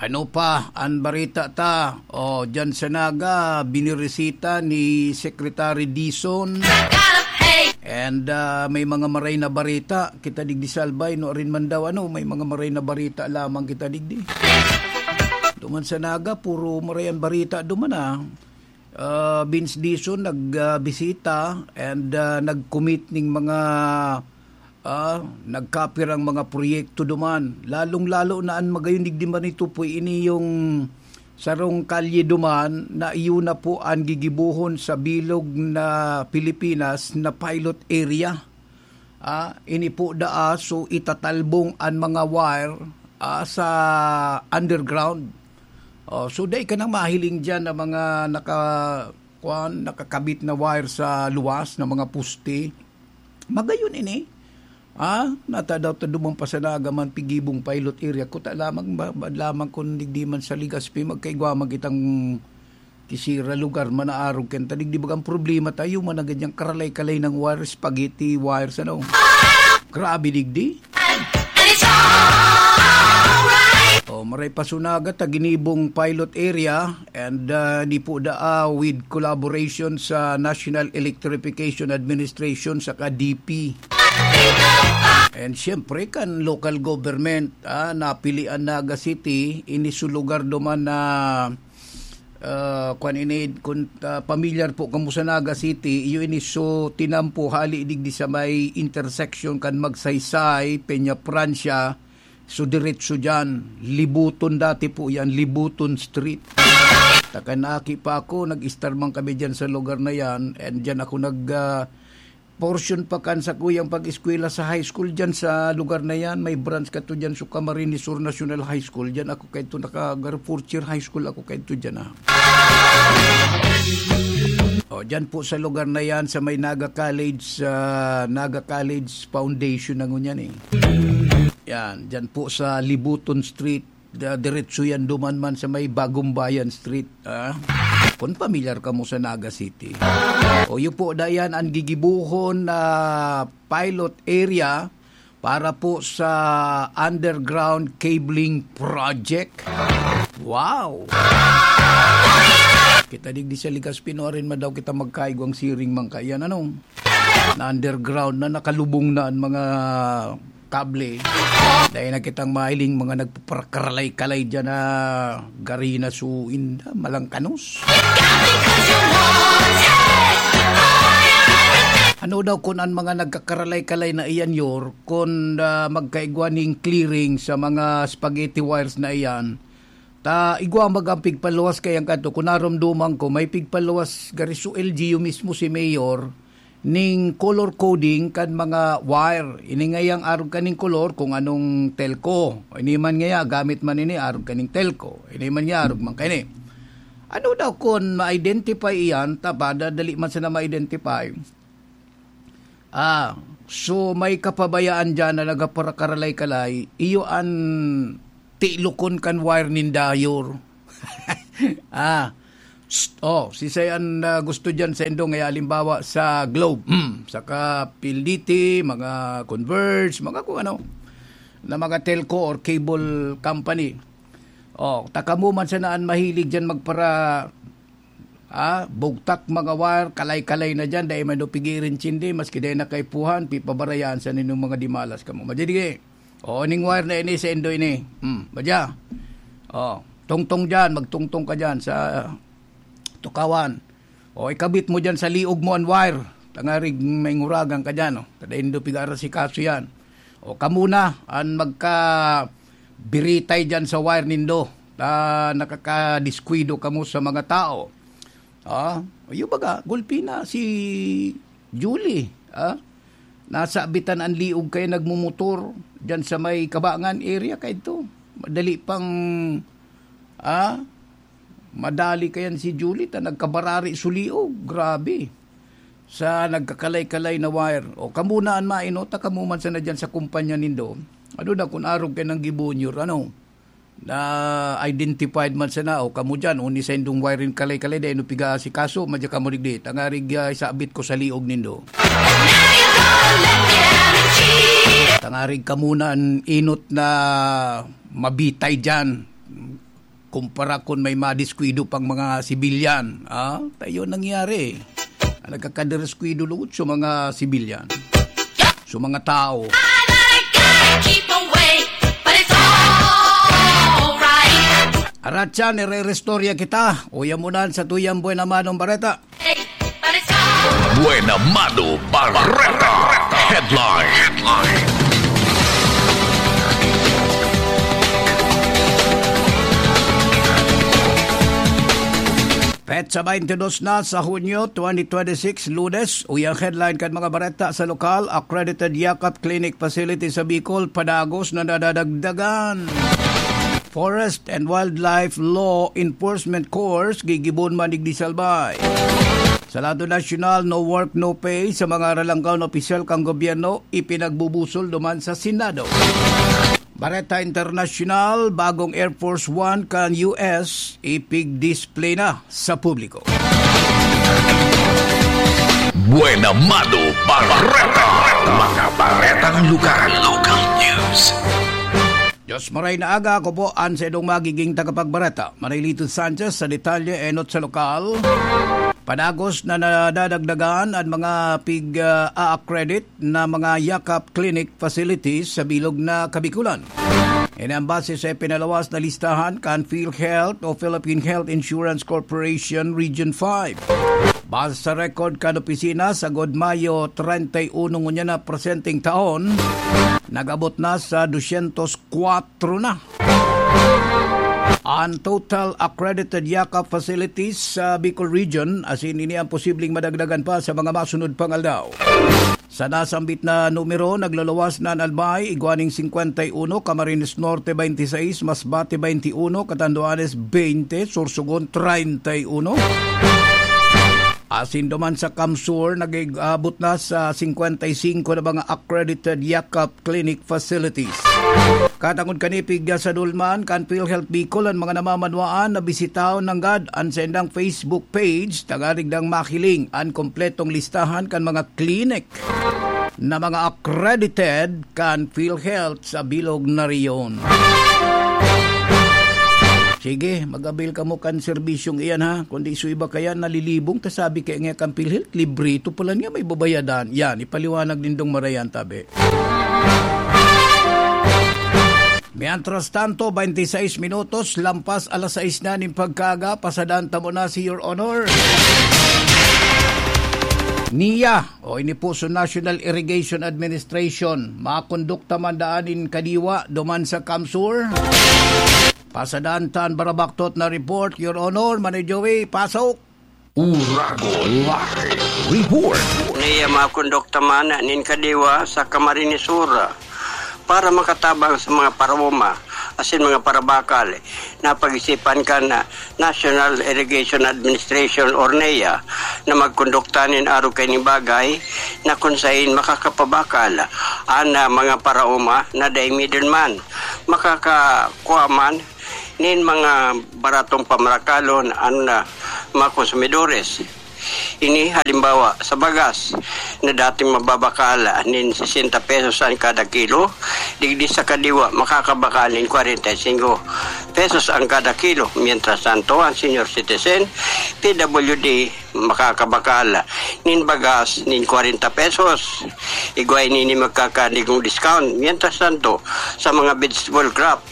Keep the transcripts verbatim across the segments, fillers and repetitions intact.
Ano pa an barita ta? O, diyan sa Naga, binirisita ni Secretary Dizon. And, ah, may mga maray na barita. Kita digdi sa Albay, no, rin man daw, ano, may mga maray na barita lamang kita digdi. Duman sa Naga, puro maray an barita duman, ah. Ah, Vince Dizon nag, ah, bisita and, ah, nag-commit ning mga, ah, nagkapirang mga proyekto duman. Lalong-lalo na an magayon digdi man ito po, ini yung sarong kalye duman na iyo na po an gigibohon sa bilog na Pilipinas na pilot area. Ah, ini po daa, so itatalbong an mga wire, ah, sa underground. Oh, so dai ka nang mahiling diyan na mga naka-, kuwan, nakakabit na wire sa luwas na mga poste. Magayon ini. Ah, natadaw ta dumang pasanaga man pigibong pilot area. Kuta lamang ba, ba lamang kun digdi man sa Legazpi, magkaigwa man kitang kisira lugar, manaarog kan ta digdi. Bagang problema tayo, managad yang karalay-kalay ng wire, spaghetti wires, ano. Grabe digdi. Oh, maray pa sunaga ta ginibong pilot area and, ah, di po daa with collaboration sa National Electrification Administration saka D P. And siyempre kan local government, ah, napili an Naga City, ini su lugar duman na, ah, kwan ini, kun, ah, pamilyar po kamo sa Naga City, iyo ini su tinampo hali digdi sa may intersection kan Magsaysay, Peña Francia, su diretso diyan, Libuton dati po yan, Libuton Street. Takan aki pa ako, nag-estar man kami diyan sa lugar na yan, and diyan ako nag, ah, portion pa kan sa kuyang pag-eskwela sa high school diyan sa lugar na yan. May branch ka to diyan, so Camarines Sur National High School. Diyan ako kaito naka-, fourth year high school ako kaito diyan, ah. O, diyan po sa lugar na yan, sa may Naga College, ah, Naga College Foundation na ngunyan, eh. Yan, diyan po sa Libuton Street, da-, diretso yan duman man sa may Bagong Bayan Street, ah. Kung pamilyar kamo sa Naga City. O, yun po, dayan ang gigibuhon na pilot area para po sa underground cabling project. Wow! Kita digdi sa Legazpi, no, arin man daw kita magkaigwang siring man kaiyan, ano? Na underground na, nakalubong na ang mga kable. Dahil na kitang mahiling mga nagpapakaralay-kalay dyan na gari na su inda, malangkanos. Ano daw kun an mga nagkakaralay-kalay na iyan, Yor, kun, ah, magkaigwa ning clearing sa mga spaghetti wires na iyan, ta igwa baga an pigpaluwas kaiyan kadto, kun naromdoman ko, may pigpaluwas gari su L G U mismo si Mayor, ning color coding kan mga wire. Ini ngayang arog kaning kolor kung anong telco. Ini man ngaya, gamit man ini, arog kaning telco. Ini man ngaya, arog man kaini. Ano daw kun ma-identify iyan, ta ba, da-, dali man sana ma-identify. Ah, so may kapabayaan diyan na nagapakaralay-kalay, iyo an tilokon kan wire ninda, Yor. Ah, psst, oh, siisay an, ah, gusto diyan sa indo, ngaya halimbawa sa Globe, hmm, saka P L D T, mga Converge, mga kung ano, na mga telco or cable company. Oh, ta kamo man sana an mahilig diyan magpara-, ah, bugtak mga wire, kalay-kalay na diyan, dai man daw pigirin sindi, maski dai na kaipuhan, pipabarayaan sa ninyong mga dimalas kamo. Madya dige. Oo, ning wire na ini sa indo ini. Hmm, madya. Oh, tungtong diyan, magtungtong ka diyan sa tukawan. O, ikabit mo diyan sa liog mo an wire. Tangarig may nguragan ka diyan, oh. Kada indo pig-aarasikaso yan. O, kamo na an magkabiritay diyan sa wire nindo. Ta nakakadiskuido kamo sa mga tao. Ah, yung baga, gulpi na si Julie, ah. Nasabitan an liog kaya nagmumotor diyan sa may Kabangan area kaidto. Madali pang, ah, madali kayan si Julie ta nagkabarari su liog. Grabe. Sa nagkakalay-kalay na wire. O, kamo na an maino, ta kamo man sana diyan sa kumpanya nindo. Ano na, kun arog kay nang gibunyor, ano? Na identified man sana, o kamo diyan, o ni sa indong wiring kalay-kalay, dai no piga-asikaso, madya kamo digdi. Tangarig, ah, isabit ko sa liog nindo. Tangarig kamo na an inot na mabitay diyan. Kumpara kun may madiskwido pang mga sibilyan, ah, tayo nangyari. Nagkakadiskwidolot sa mga sibilyan, sa mga tao. Aratyan, ire-restorya kita. Uya mo nan sa tuyang buwan naman ng bareta. Buena Mano Bareta Headline. Headline. Petsa twenty-dos na sa Hunyo twenty twenty-six, Lunes. Uyang headline kan mga bareta sa lokal: Accredited Yakap Clinic Facility sa Bicol padagos na nadadagdagan. Forest and Wildlife Law Enforcement Corps gigibon man digdi sa Albay. Sa lado nasyonal, no work, no pay sa mga ralanggaw na opisyal kan gobyerno, ipinagbubusol duman sa Senado. Bareta Internasyonal: bagong Air Force One kan U S ipigdisplay na sa publiko. Buena Mano Bareta. Mga baretang lugar. Local news. Diyos maray na aga, ako po an sa idong magiging tagapagbareta, Marilito Sanchez. Sa detalye, enot sa lokal. Padagos na nadadagdagan an mga pig-a-accredit na mga Yakap Clinic facilities sa bilog na Kabikulan. Ini ang base sa ipinalawas na listahan kan PhilHealth o Philippine Health Insurance Corporation Region five. Base sa record kan opisina, sagod Mayo treinta y uno ngunyan na presenteng taon, nag-abot na sa dosyentos kwatro na an total accredited Yakap facilities sa Bicol Region, asin ini ang posibleng madagdagan pa sa mga masunod pang aldaw. Sa nasambit na numero, nagluluwas na an Albay, igwa ning singkwenta y uno, Camarines Norte, baynte sais, Masbate, baynte uno, Catanduanes, baynte, Sorsogon, treinta y uno. Asin duman sa CamSur, nag-abot na sa singkwenta y singko na mga accredited Yakap clinic facilities. Katangod kani, pigya sa dulman kan PhilHealth Bicol an mga namamanwaan na bisitahon nanggad an saindang Facebook page, tanganing dang mahiling an kompletong listahan kan mga klinik na mga accredited kan PhilHealth sa bilog na rehiyon. Sige, mag-avail kamo kan serbisyong iyan, ha. Kundi sa iba kaya nalilibong, ta sabi kaya nga kan PhilHealth, libre ito pala niya, may babayadan. Yan, ipaliwanag nindong marayan, tabi. Mientras tanto, baynte sais minutos lampas alas sais na nin pagkaaga, pasadan ta mo na si Your Honor. Niya, o ini po sa National Irrigation Administration, makondukta man daan nin kadiwa duman sa CamSur. Pasadan ta an barabaktot na report, Your Honor, Manay Joey, pasok. Uragon Live Report. Niya makondukta man nin kadiwa sa Camarines Sur para makatabang sa mga paraoma asin mga parabakal na pag-isipan kan National Irrigation Administration or NIA na magkondukta nin arog kaining bagay na kun saen makakapabakal an, ah, mga paraoma na dai middleman. Makakakua man nin mga baratong pamarakalon an, ah, mga konsumidores. Ini halimbawa, sa bagas na dating mababakal nin sesenta pesos an kada kilo, digdi sa kadiwa makakabakal nin kwarenta y singko pesos an kada kilo. Mientras tanto, an senior citizen, P W D, makakabakal nin bagas nin kwarenta pesos. Igwa ini nin magkakadigong discount. Mientras tanto, sa mga vegetable crop,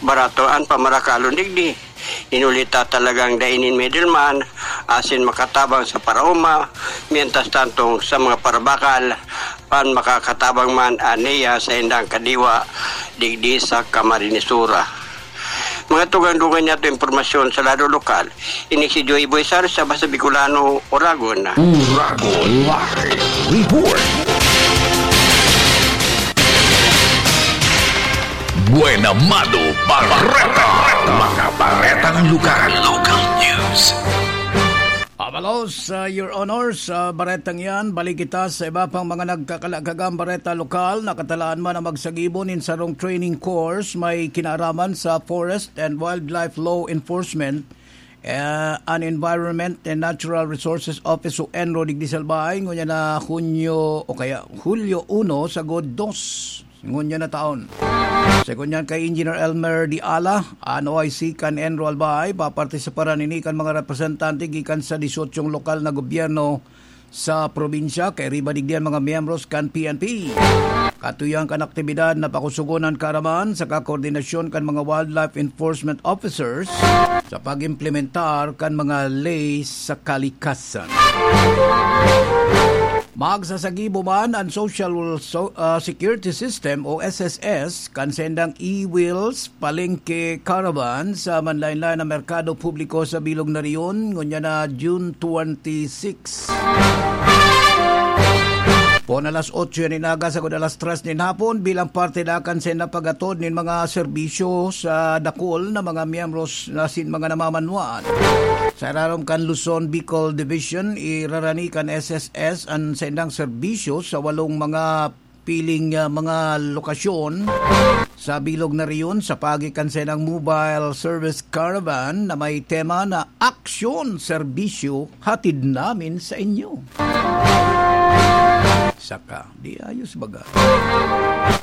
barato an pamarakalon digdi. Inuli ta talagang dai nin middleman, asin makatabang sa paraoma, mientras tanto sa mga parabakal, an makakatabang man an NIA sa indang kadiwa digdi sa Camarines Sur. Mga tugang-dugang niyato impormasyon sa lado lokal, ini si Joy Boy Sar sa Basta Bicolano, Uragon. Uragon Live Report. Buena Mano Bareta. Mga baretang lugar. Local news. Abalos, uh, Your Honor, sa baretang yan, balik kita sa iba pang mga nagkakalagagang bareta lokal. Nakatalaan man ang magsagibo nin sarong training course may kinaaraman sa Forest and Wildlife Law Enforcement, eh, an Environment and Natural Resources Office o ENRO digdi sa Albay, ngunyan na Hunyo o kaya Hulyo uno sagod dos. ngunyan na taon. Sa ngunyan kay Engineer Elmer Diala, an O I C kan ENRO Albay, papartisiparan ini kan mga representante gikan sa disyotsyong lokal na gobyerno sa probinsya, kairiba digdi an mga miyembros kan P N P. Katuyohan kan aktibidad na pakusugon an kaaraman saka koordinasyon kan mga wildlife enforcement officers sa pag-implementar kan mga ley sa kalikasan. Magsasagibo man an Social So-, ah, Security System o S S S kan sendang e-wheels palengke caravan sa manlaen-laen na merkado publiko sa Bilog na Riyon, ngunyan na June twenty-six. Pon alas otso yan inaga sagod alas tres nin hapon, bilang parte da kan sendang pag-atod nin mga serbisyo sa dakul na mga miyembros na sin mga namamanwaan. Sa irarom kan Luzon, Bicol Division, irarani kan S S S an sendang serbisyo sa walong mga piling, ah, mga lokasyon sa Bilog na Riyon sa paagi kan sendang mobile service caravan na may tema na Aksyon, Serbisyo, Hatid Namin sa Inyo. Saka, di ayos baga.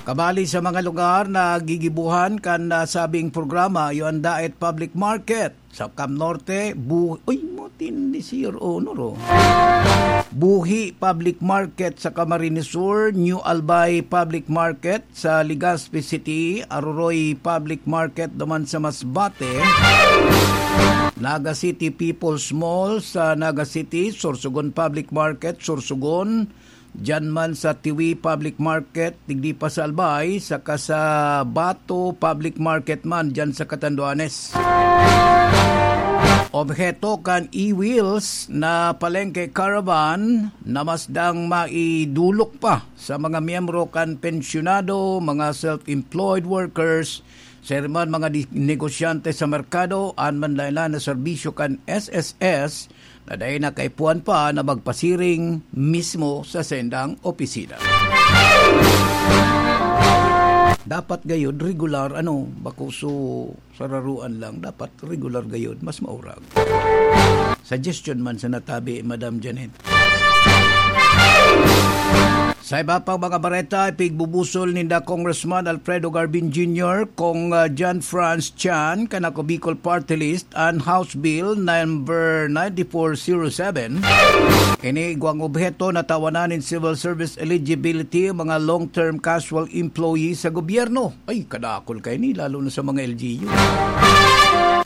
Kabali sa mga lugar na gigibuhan kan, ah, sabing programa, iyo an Daet Public Market. Sa Cam Norte, Bu-, uy, matindi si Your Honor, oh. Buhi Public Market sa Camarines Sur, New Albay Public Market sa Legazpi City, Aroroy Public Market duman sa Masbate, Naga City People's Mall sa Naga City, Sorsogon Public Market, Sorsogon, diyan man sa Tiwi Public Market, digdi pa sa Albay, saka sa Bato Public Market man, diyan sa Catanduanes. Obheto kan e-wheels na palengke caravan na masdang maidulok pa sa mga miyembro kan pensyonado, mga self-employed workers, saka man mga di-, negosyante sa merkado, an manlaen-laen na serbisyo kan S S S na dai na kaipuhan pa na magpasiring mismo sa sendang opisina. Dapat gayod regular, ano, bako so sararuan lang, dapat regular gayod, mas maurag. Suggestion man sa natabi, Madam Janet. Sa iba pang mga bareta, ipigbubusol ninda Congressman Alfredo Garbin Junior, Cong, ah, John Franz Chan, kan Ako Bicol Party List, an House Bill number ninety-four zero seven. Ini igwang obheto na tawanan nin civil service eligibility ang mga long-term casual employees sa gobyerno. Ay, kadakol kaini, lalo na sa mga L G U.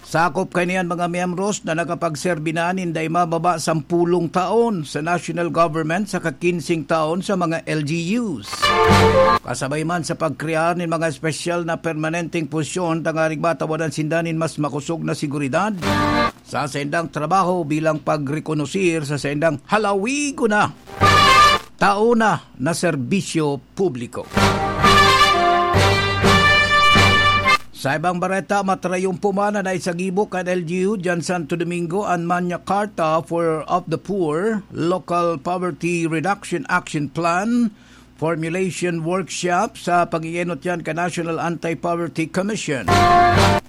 Sakop kaini an mga miyembros na nakapagserbi na nin dai mababa sampulong taon sa national government saka kinsing taon sa mga L G Us. Kasabay man sa pagkrear nin mga espesyal na permanenteng posisyon tanganing matawadan sinda nin mas makosog na seguridad sa saindang trabaho bilang pagrekonosir sa saindang halawigon na taon na na serbisyo publiko. Sa ibang bareta, matrayumpo man na naisagibo kan L G U diyan Santo Domingo an Magna Carta for of the Poor, Local Poverty Reduction Action Plan, Formulation Workshop sa pag-ienot yan kan National Anti-Poverty Commission.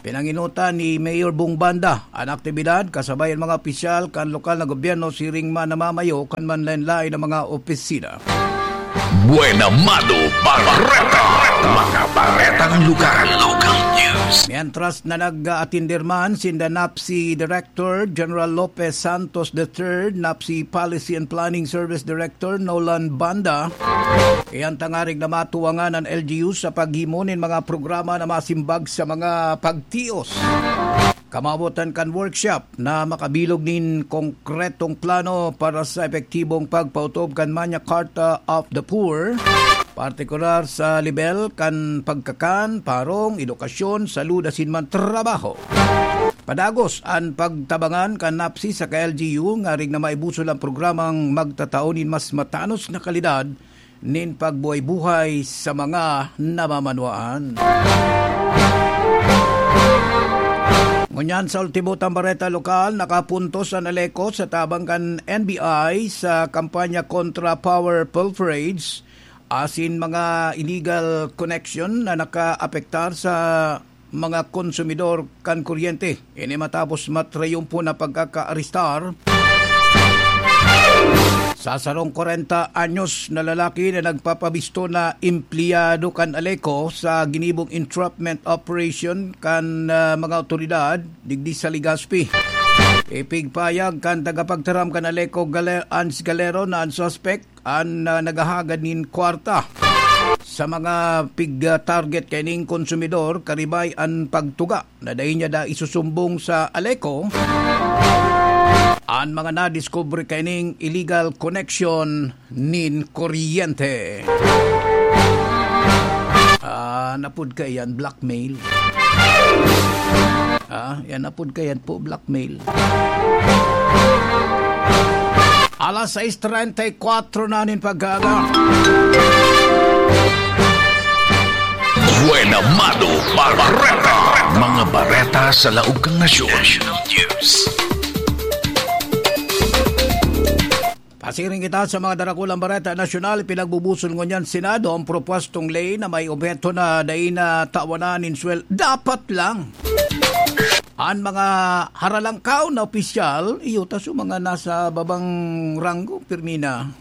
Pinangenotan ni Mayor Bong Banda an aktibidad kasabay an mga opisyal kan lokal na gobyerno siring man namamayo kan manlaen-laen na mga opisina. Buena Mano Bareta. Mga baretang lokal. Local news. Mientras na nag-aatender man sinda NAPSI Director General Lopez Santos the third, NAPSI Policy and Planning Service Director Nolan Banda, iyan tanganing na matuwangan an L G U sa paghimo nin mga programa na masimbag sa mga pagtios. Kamawotan kan workshop na makabilog nin konkretong plano para sa epektibong pagpautob kan Magna Carta of the Poor, partikular sa lebel kan pagkakan, parong, edukasyon, salud asin man trabaho. Padagos an pagtabangan kan NAPSI saka L G U nganing na maibusol ang programang magtatao nin mas matanos na kalidad nin pagbuhay-buhay sa mga namamanwaan. Ngunyan sa ultimo tang bareta lokal, nakapuntos an ALECO sa tabang kan N B I sa kampanya kontra power pilferage asin mga illegal connection na nakaapektar sa mga konsumidor kan kuryente. Ini matapos matrayumpo na pagkakaarestar Sa sarong kwarenta anyos na lalaki na nagpapabisto na empleyado kan Aleco sa ginibong entrapment operation kan, ah, mga awtoridad digdi sa Legazpi. Ipigpayag kan tagapagtaram kan Aleco, Gale-, Ans Galero, na an suspek an, ah, naghahagad nin kwarta sa mga pig-, ah, target kaining konsumidor, karibay an pagtuga na dai niya da isusumbong sa Aleco an mga nadiskubre kaining illegal connection nin kuryente. Ah, napod ka yan, blackmail. Ah, yan napod ka yan po, blackmail. Alas sais treinta y cuatro na nin pagkaaga. Buena Mano Bareta. Mga bareta sa laog kan nasyon. National News. Pasiring kita sa mga darakulang bareta nasyonal. Pinagbubusol ngunyan Senado ang propwestong ley na may obheto na dai na tawanan nin swel-, dapat lang. An mga haralangkaw na opisyal, iyo ta, so mga nasa babang ranggo, pirmi na.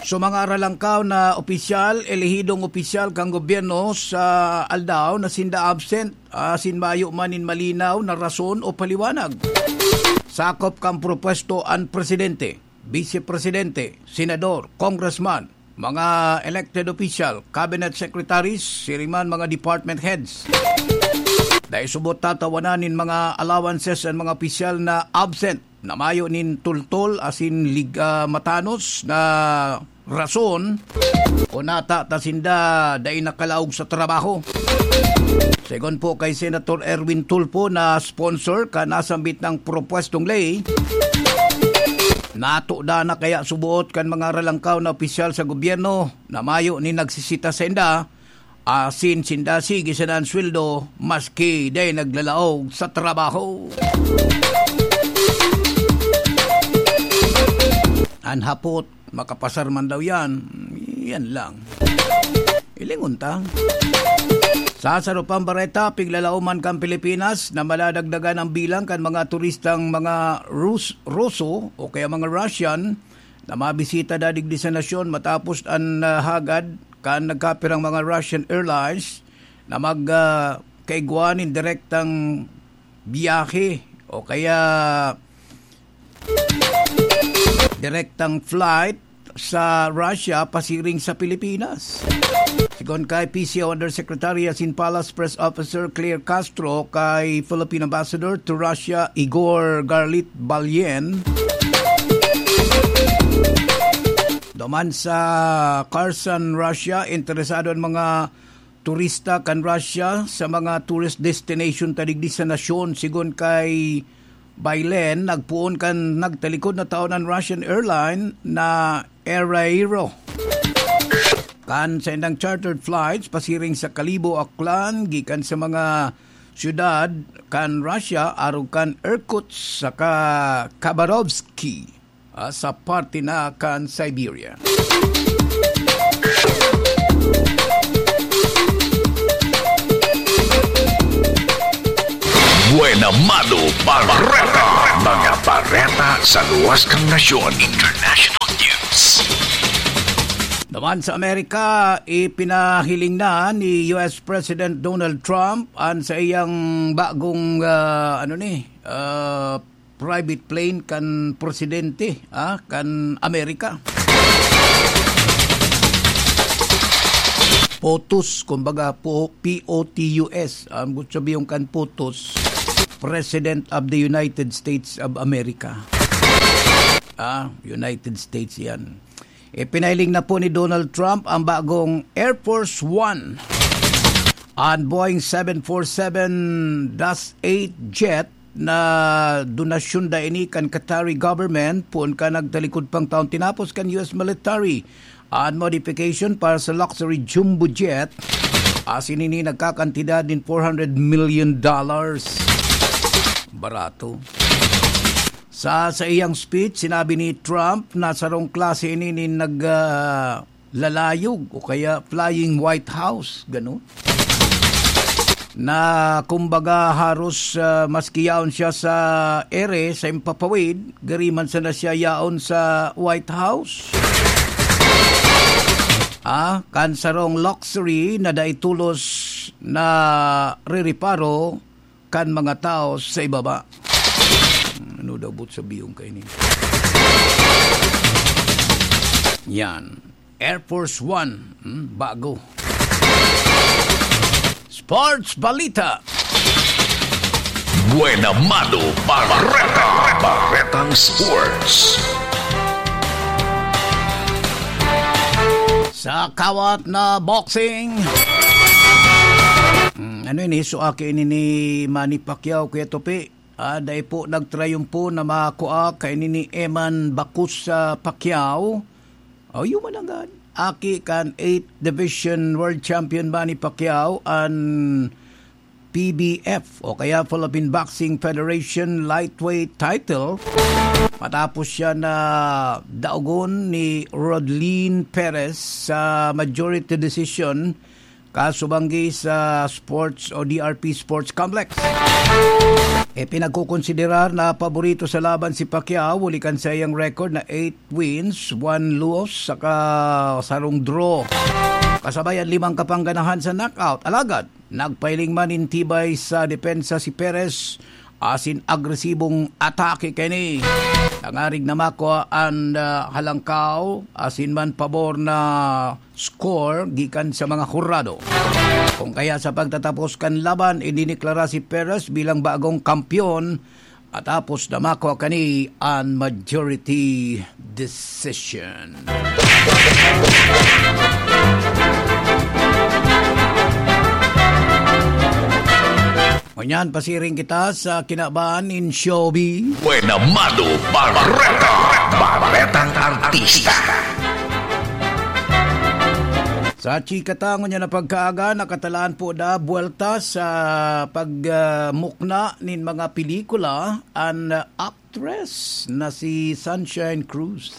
So, mga haralangkaw na opisyal, elehidong opisyal kan gobyerno sa aldaw na sinda absent, asin mayo man nin malinaw na rason o paliwanag. Sakop kan propwesto an presidente, bise presidente, senador, congressman, mga elected official, cabinet secretaries, siring man mga department heads. Dai subot tatawanan nin mga allowances an mga opisyal na absent, na mayo nin tultol asin lig-, ah, matanos na rason o nata ta sinda dai nakalaog sa trabaho. Segun po kay Senator Erwin Tulfo na sponsor kan nasambit na propwestong ley, natuda na kaya suboot kan mga ralangkaw na opisyal sa gobyerno na mayo nin nagsisita sainda, asin sinda sige sana an sweldo maski dai naglalaog sa trabaho. An hapot, makapasar man daw yan. Yan lang. Ilingon ta. Sa sarupang bareta, piglalaoman kan Pilipinas na madadagdagan ang bilang kan mga turistang mga Rus-, Ruso o kaya mga Russian na mabisita da digdi sa nasyon matapos an, ah, hagad kan nagkapirang mga Russian Airlines na mag, ah, kaigwa nin direktang biyahe o kaya direktang flight sa Russia pasiring sa Pilipinas. Sigon kay P C O Undersecretary asin Palace Press Officer Claire Castro, kay Philippine Ambassador to Russia Igor Garlit Balyen, duman sa Kherson, Russia, interesado an mga turista kan Russia sa mga tourist destination ta digdi sa nasyon. Sigon kay Bailen, nagpoon kan nagtalikod na taon an Russian airline na Air Aero kan saindang chartered flights pasiring sa Kalibo, Aklan, gikan sa mga syudad kan Russia, arog kan Irkutsk saka Khabarovsk, ah, sa parte na kan Siberia. Buena Mano Bareta. Mga bareta sa luwas kan nasyon. International News. Naman sa Amerika, ipinahiling na ni U S President Donald Trump an sa iyang bagong, ah, ano ni, ah, private plane kan presidente, ah, kan Amerika. POTUS, kumbaga, po, P O T U S. Ang gusto sabihin kan POTUS, President of the United States of America. Ah, United States yan. Ipinahiling na po ni Donald Trump ang bagong Air Force One, an Boeing seven four seven dash eight jet na donasyon da ini kan Qatari government, poon kan nagtalikod pang taon tinapos kan U S military an modification para sa luxury jumbo jet. Asin ini nagkakantidad nin four hundred million dollars. Barato. Sa, sa iyang speech, sinabi ni Trump na sarong klase ini nin nag, ah, lalayog o kaya flying White House, ganun. na kumbaga haros, ah, maski yaon siya sa ere, sa impapawid, gari man sana siya yaon sa White House. Ah, kan sarong luxury na dai tolos na rereparo kan mga tao sa ibaba. Hmm, ano daw but sa biyong kaini? Yan. Air Force One. Hmm, bago. Sports Balita. Buena Mano Bareta. Baretang Sports. Sa kawat na boxing. Hmm, ano ini? So, aki ini ni Manny Pacquiao, Kuya Tupi. Ah, dai po nagtrayumpo na makua kaini ni Eman Bakus sa Pacquiao. O, yun man agad. Aki kan eighth Division World Champion Manny Pacquiao an P B F o kaya Philippine Boxing Federation lightweight title matapos siya na daogon ni Rodlin Perez sa majority decision kasubanggi sa sports o D R P Sports Complex. E, pinagkukonsiderar na paborito sa laban si Pacquiao, huli kan saiyang record na eight wins, one loss, saka sarong draw. Kasabay an limang kapangganahan sa knockout. Alagad, nagpahiling man nin tibay sa depensa si Perez asin agresibong atake kaini. Tangarig na makua an, ah, halangkaw asin man pabor na score gikan sa mga hurado. Kung kaya sa pagtatapos kan laban, idiniklara si Perez bilang bagong kampiyon, matapos na makua kani an majority decision. Ngunyan, pasiring kita sa kinaban nin showbiz. Buena Mano Bareta. Baretang Artista. Sa chika ta ngunyan na pagkaaga, nakatalaan po na buwelta sa pag, ah, mukna nin mga pelikula an, ah, actress na si Sunshine Cruz.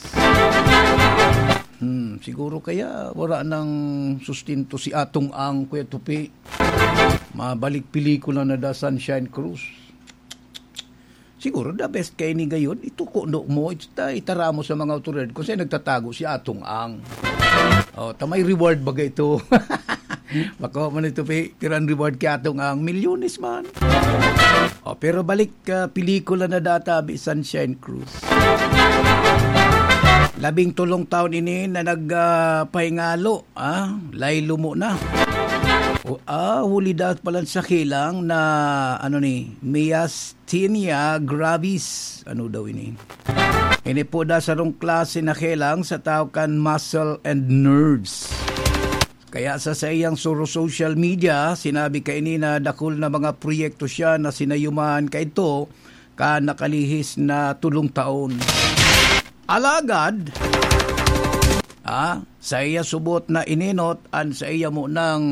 Hmm, siguro kaya wala nang sustento si Atong Ang, Kuya Tupi. Mabalik pelikula na da Sunshine Cruz. Siguro the best kaini gayon, ituko no mo, ita-, itara mo sa mga awtoridad kung saan nagtatago si Atong Ang. O, ta may reward baga ito. Bako man ito, pi-, pero ang reward kay Atong Ang, milyones man. O, pero balik, ah, pelikula na data, bi Sunshine Cruz. Labing tolong taon ini na nag, ah, pahingalo, ah, laylo mo na. O, ah, huli dapat pala sa kilang na, ano ni, Mias Tinea gravis. Ano daw ini? Ini po da sarong klase na kilang sa tao kan muscle and nerves. Kaya sa saiyang suro social media, sinabi kaini na dakul na mga proyekto siya na sinayumahan kaidto kan nakalihis na tulong taon. Alagad, ah, sa iya subot na inenot an sa iya mo ng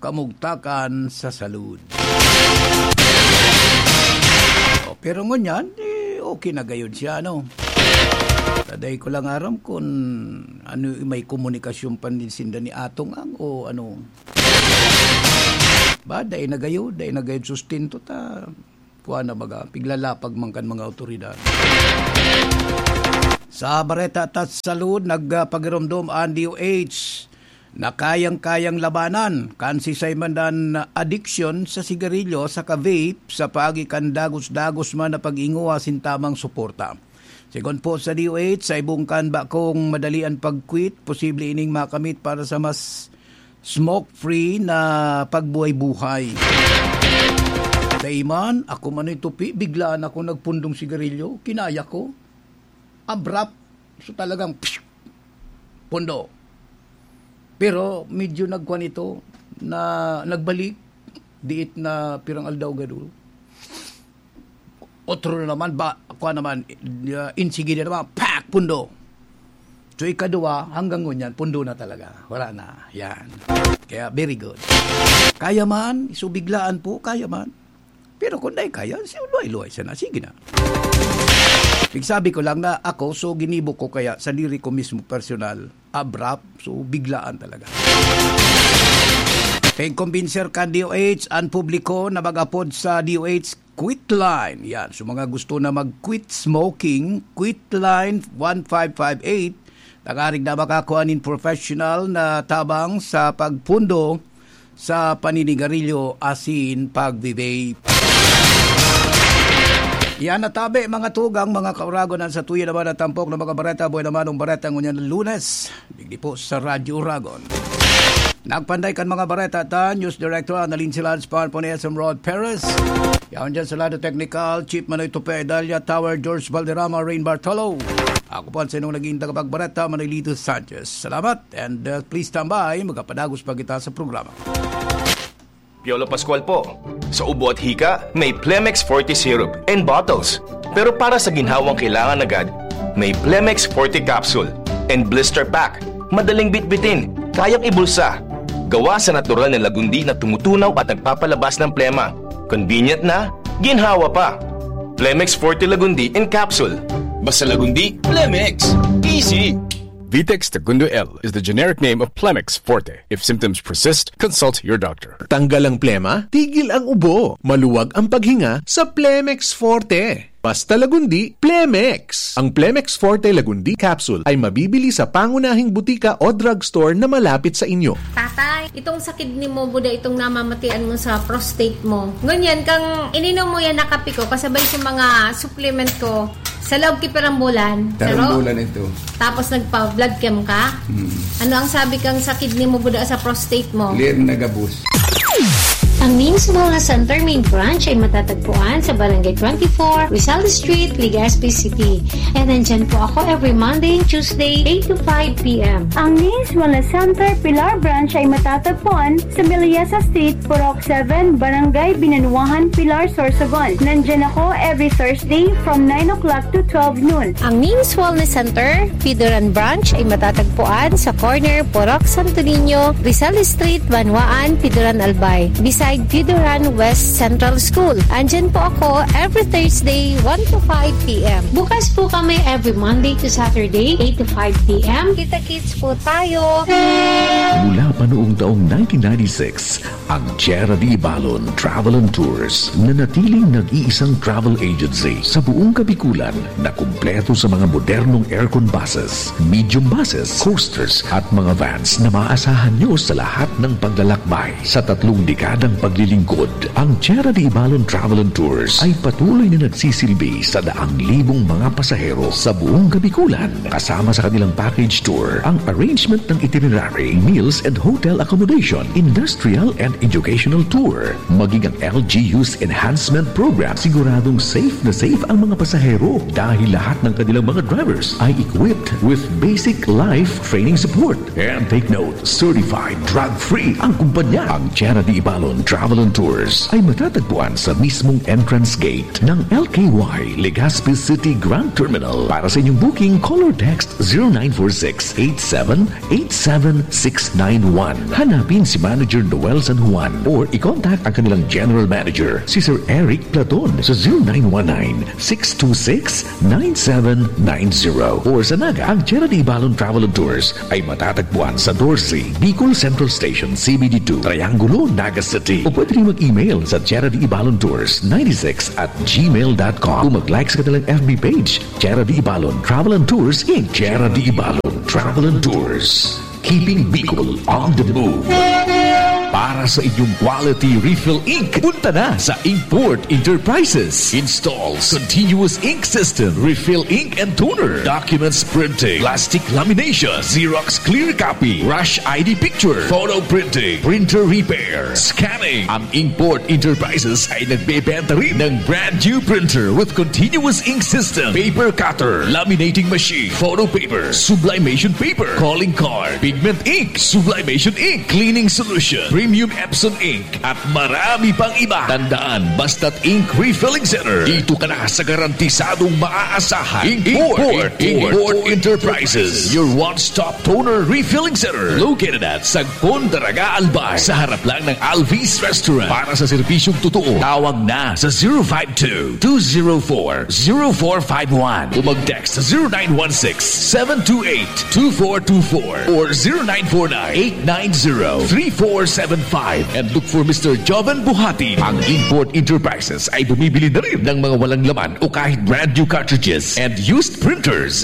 kamugtakan sa salud. O, pero ngunyan, eh, okay na gayod siya, ano? Taday ko lang aram kung ano, may komunikasyon pa din sinda ni Atong Ang o ano. Ba, dai na gayo, dai na gayo sustento ta. Kuha na baga, piglalapag man kan mga awtoridad. Sa bareta ta salud, nagpagiromdom an D O H na kayang-kayang labanan kan sisay man dan addiction sa sigarilyo saka vape sa paagi kan dagos-dagos man na pag-inguha sin tamang suporta. Sigon po sa D O H, sa ibong kan bakong madali an pag-quit, posible ining makamit para sa mas smoke-free na pagbuhay-buhay. Sa iman, ako man ito, pi-, biglaan ako nagpundong sigarilyo, kinaya ko. Abrupt. So, talagang, psh, pundo. Pero medyo nagkuhan ito na nagbalik, diit na pirang aldaw gado. Otro na naman, ba, kuha naman, uh, insigida naman, pak, pundo. So, ikaduwa, hanggang ngunyan, pundo na talaga. Wala na. Yan. Kaya, very good. Kaya man, so biglaan po, kaya man. Pero kung dai kaya, si luway-luway sana. Sige na. Pigsabi ko lang na ako, so ginibo ko kaya sa diri ko mismo personal, abrupt, so biglaan talaga. Pag-kumbinser kan D O H an publiko na mag-apod sa D O H Quit Line. Yan. So, mga gusto na mag-quit smoking, Quit Line one five five eight. Tangarig na makakua nin professional na tabang sa pagpundo sa paninigarilyo asin pagbe-vape. Yan na tabi, mga tugang, mga kauragon, an satuya naman na tampok na mga bareta. Buhay naman ang bareta ngunyan Lunes. Digdi po sa Radyo Uragon. Nagpanday kan mga bareta ta, News Director Annalyn Silan, Spar Pone, S M Rod Perez. Yaon dyan sa lado technical, Chief Manoy Tupe, Dalia Tower, George Valderrama, Rain Bartolo. Ako po ang sinong naging tagapagbareta, Manoy Lito Sanchez. Salamat and, uh, please stand by, magkapadagos pa kita sa programa. Piolo Pascual po. Sa ubo at hika, may Plemex Forte Syrup and Bottles. Pero para sa ginhawang kailangan agad, may Plemex Forte Capsule and Blister Pack. Madaling bitbitin, kayang ibulsa. Gawa sa natural na lagundi na tumutunaw at nagpapalabas ng plema. Convenient na, ginhawa pa. Plemex Forte Lagundi in Capsule. Basta Lagundi, Plemex. Easy. Vitex Segundo L is the generic name of Plemex Forte. If symptoms persist, consult your doctor. Tanggal ang plema, tigil ang ubo, maluwag ang paghinga sa Plemex Forte. Basta Lagundi, Plemex. Ang Plemex Forte Lagundi Capsule ay mabibili sa pangunahing butika o drugstore na malapit sa inyo. Tatay, itong sa kidney mo, buda itong namamatian mo sa prostate mo. Ngunyan, kang ininom mo yan na kape ko, kasabay sa mga supplement ko, sa loob ki pirang bulan. Sa loob? Tarong bulan ito. Tapos nagpa-blood chem ka? Mm. Ano ang sabi kang sa kidney mo, buda sa prostate mo? Clear na gabos. Ang Names Wellness Center main branch ay matatagpuan sa Barangay twenty-four, Rizal Street, Legazpi City. And nandyan po ako every Monday and Tuesday, eight to five p m. Ang Names Wellness Center Pilar Branch ay matatagpuan sa Millesa Street, Purok seven, Barangay Binanuahan, Pilar, Sorsogon. Nandyan ako every Thursday from nine o'clock to twelve noon. Ang Names Wellness Center, Pidoran Branch, ay matatagpuan sa corner Purok Santo Niño, Rizal Street, Banwaan, Pidoran, Albay, beside Pidoran West Central School. Andyan po ako every Thursday, one to five p m. Bukas po kami every Monday to Saturday, eight to five p m. Kita-kits po tayo. Mula pa noong taong nineteen ninety-six, ang Tierra de Ibalon Travel and Tours, nanatiling nag-iisang travel agency sa buong Kabikulan na kumpleto sa mga modernong aircon buses, medium buses, coasters, at mga vans na maaasahan nyo sa lahat ng paglalakbay. Sa tatlong dekadang paglilingkod, ang Tierra de Ibalon Travel and Tours ay patuloy na nagsisilbi sa daang libong mga pasahero sa buong Kabikulan. Kasama sa kanilang package tour ang arrangement ng itinerary, meals and hotel accommodation, industrial and educational tour, maging ang L G U's enhancement program. Siguradong safe na safe ang mga pasahero dahil lahat ng kanilang mga drivers ay equipped with basic life training support. And take note, certified drug-free ang kumpanya. Ang Tierra de Ibalon Travel and Tours ay matatagpuan sa mismong entrance gate ng L K Y Legazpi City Grand Terminal. Para sa inyong booking, call or text zero nine four six eight seven eight seven six nine one. Hanapin si Manager Noel San Juan or i-contact ang kanilang General Manager, si Sir Eric Platon, sa zero nine one nine six two six nine seven nine zero. Or sa Naga, ang Tierra de Ibalon Travel and Tours ay matatagpuan sa doce, Bicol Central Station, C B D two, Triangulo, Naga City. O pwede rin mag-email sa Tierra de Ibalon Tours ninety-six at gmail dot com. O mag-like sa kanilang F B page, Tierra de Ibalon Travel and Tours, Inc. Tierra de Ibalon Travel and Tours. Keeping Bicol on the move. Para sa inyong quality refill ink, punta na sa Inkport Enterprises. Installs continuous ink system, refill ink and toner, documents printing, plastic lamination, Xerox clear copy, rush I D picture, photo printing, printer repair, scanning. Ang Inkport Enterprises ay nagbebenta rin ng brand new printer with continuous ink system, paper cutter, laminating machine, photo paper, sublimation paper, calling card, pigment ink, sublimation ink, cleaning solution, premium Epson ink, at marami pang iba. Tandaan, basta't ink refilling center, dito ka na sa garantisadong maaasahan. Import, Import, Import Enterprises, your one-stop toner refilling center, located at Sagpon, Daraga, Albay, sa harap lang ng Alvis Restaurant. Para sa serbisyong totoo, tawag na sa zero five two, two zero four, zero four five one o mag-text sa zero nine one six, seven two eight, two four two four or zero nine four nine, eight nine zero, three four seven five and look for Mister Joven Buhati. Ang Import Enterprises ay bumibili na rin ng mga walang laman o kahit brand new cartridges and used printers.